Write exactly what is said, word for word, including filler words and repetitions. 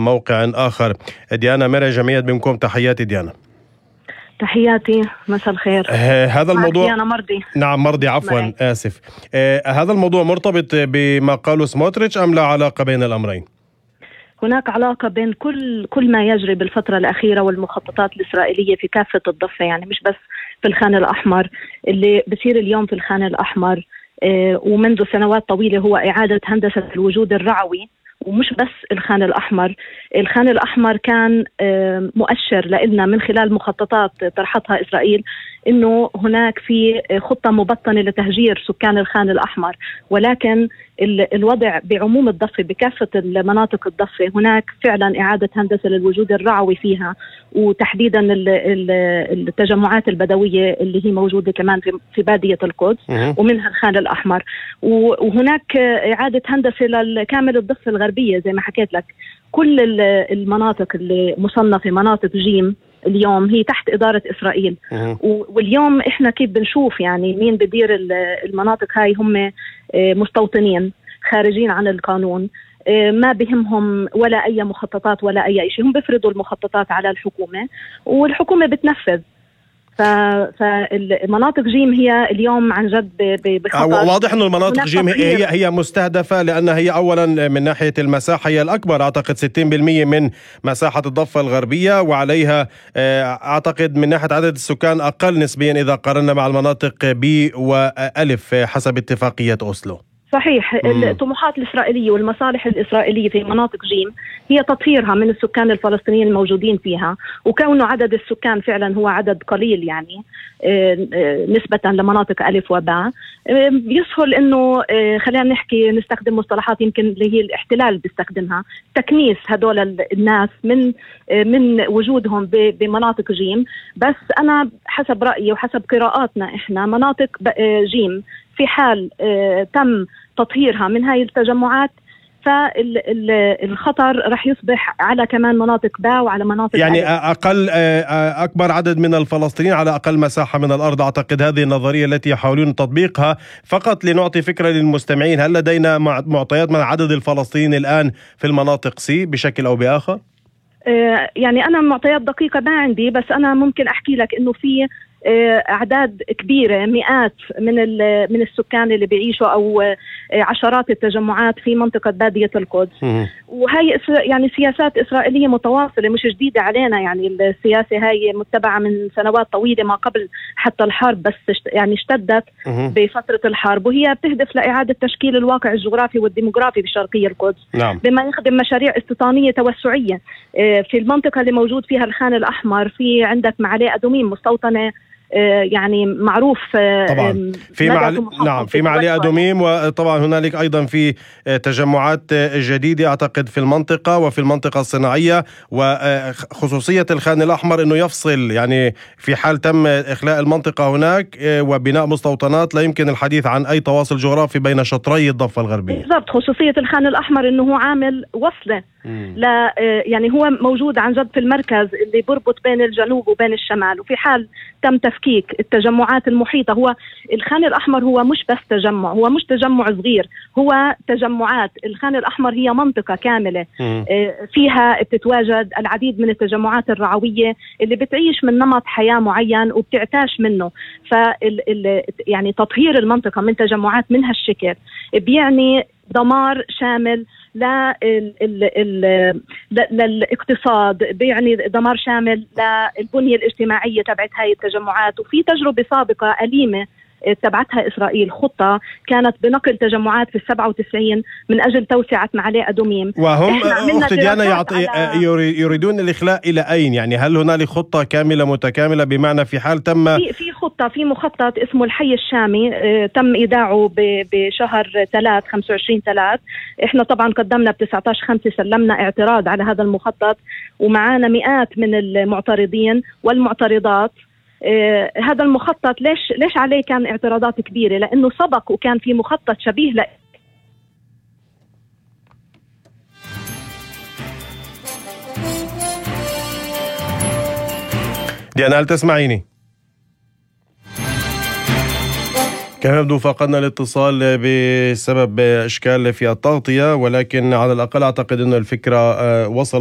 موقع آخر. ديانا مرعي جمعية بمكم، تحياتي ديانا. تحياتي، مساء الخير. آه هذا الموضوع ديانا مرضي نعم مرضي عفوا معي. آسف. آه هذا الموضوع مرتبط بما قاله سموتريتش أم لا علاقة بين الأمرين؟ هناك علاقة بين كل كل ما يجري بالفترة الأخيرة والمخططات الإسرائيلية في كافة الضفة، يعني مش بس في الخان الأحمر. اللي بصير اليوم في الخان الأحمر آه ومنذ سنوات طويلة هو إعادة هندسة الوجود الرعوي، ومش بس الخان الأحمر. الخان الأحمر كان مؤشر لنا من خلال مخططات طرحتها إسرائيل إنه هناك في خطة مبطنة لتهجير سكان الخان الأحمر، ولكن الوضع بعموم الضفة بكافة المناطق الضفة هناك فعلا إعادة هندسة للوجود الرعوي فيها، وتحديدا التجمعات البدوية اللي هي موجودة كمان في بادية القدس ومنها الخان الأحمر، وهناك إعادة هندسة لكامل الضفة الغربية زي ما حكيت لك. كل المناطق اللي مصنفة مناطق جيم اليوم هي تحت إدارة إسرائيل، واليوم إحنا كيف بنشوف يعني مين بدير المناطق هاي هم مستوطنين خارجين عن القانون، ما بهمهم ولا أي مخططات ولا أي شيء، هم بيفرضوا المخططات على الحكومة والحكومة بتنفذ. فالمناطق جيم هي اليوم عن جد بخطر. واضح أنه المناطق جيم هي هي مستهدفة، لأنها هي أولا من ناحية المساحة هي الأكبر، أعتقد ستين بالمئة من مساحة الضفة الغربية، وعليها أعتقد من ناحية عدد السكان أقل نسبيا إذا قارنا مع المناطق بي وألف حسب اتفاقية أوسلو. صحيح. الطموحات الإسرائيلية والمصالح الإسرائيلية في مناطق جيم هي تطهيرها من السكان الفلسطينيين الموجودين فيها، وكونه عدد السكان فعلا هو عدد قليل يعني نسبة لمناطق ألف وباء، يسهل إنه خلينا نحكي نستخدم مصطلحات يمكن اللي هي الاحتلال بيستخدمها، تكنيس هدول الناس من من وجودهم بمناطق جيم. بس أنا حسب رأيي وحسب قراءاتنا إحنا مناطق جيم في حال تم تطهيرها من هاي التجمعات فالخطر رح يصبح على كمان مناطق باء وعلى مناطق يعني ألف. أقل أكبر عدد من الفلسطينيين على أقل مساحة من الأرض. أعتقد هذه النظرية التي يحاولون تطبيقها. فقط لنعطي فكرة للمستمعين، هل لدينا معطيات من عدد الفلسطينيين الآن في المناطق سي بشكل أو بآخر؟ يعني أنا معطيات دقيقة ما عندي، بس أنا ممكن أحكي لك إنه في أعداد كبيرة مئات من من السكان اللي بيعيشوا أو عشرات التجمعات في منطقة بادية القدس. وهي يعني سياسات إسرائيلية متواصلة مش جديدة علينا، يعني السياسة هاي متبعة من سنوات طويلة ما قبل حتى الحرب، بس يعني اشتدت بفترة الحرب، وهي بتهدف لإعادة تشكيل الواقع الجغرافي والديموغرافي بشرقية القدس. نعم. بما يخدم مشاريع استيطانية توسعية في المنطقة اللي موجود فيها الخان الأحمر. في عندك معلي أدوميم مستوطنة يعني معروف طبعا في معلي نعم في معلي أدوميم، وطبعا هنالك أيضا في تجمعات جديدة أعتقد في المنطقة وفي المنطقة الصناعية. وخصوصية الخان الأحمر أنه يفصل، يعني في حال تم إخلاء المنطقة هناك وبناء مستوطنات لا يمكن الحديث عن أي تواصل جغرافي بين شطري الضفة الغربية. بالضبط. خصوصية الخان الأحمر أنه هو عامل وصلة لا يعني هو موجود عن جد في المركز اللي بربط بين الجنوب وبين الشمال، وفي حال تم تفكيك التجمعات المحيطة. هو الخان الأحمر هو مش بس تجمع، هو مش تجمع صغير، هو تجمعات. الخان الأحمر هي منطقة كاملة فيها بتتواجد العديد من التجمعات الرعوية اللي بتعيش من نمط حياة معين وبتعتاش منه. فال يعني تطهير المنطقة من تجمعات من هالشكل بيعني دمار شامل للاقتصاد، بيعني دمار شامل للبنية الاجتماعية تبعت هاي التجمعات. وفي تجربة سابقة أليمة تبعتها إسرائيل، خطة كانت بنقل تجمعات في السبعة وتسعين من أجل توسعة معلي أدوميم، وهم أخت ديانا يعطي يريدون الإخلاء إلى أين؟ يعني هل هنالك خطة كاملة متكاملة بمعنى في حال تم في, في خطة في مخطط اسمه الحي الشامي اه تم إيداعه بشهر ثلاث خمسة وعشرين ثلاث. إحنا طبعا قدمنا بتسعة عشر خمسة سلمنا اعتراض على هذا المخطط، ومعانا مئات من المعترضين والمعترضات. آه هذا المخطط ليش ليش عليه كان اعتراضات كبيرة؟ لأنه سبق وكان في مخطط شبيه ل ديانا هل تسمعيني؟ كما يبدو فقدنا الاتصال بسبب إشكال في التغطية، ولكن على الأقل أعتقد أن الفكرة وصلت.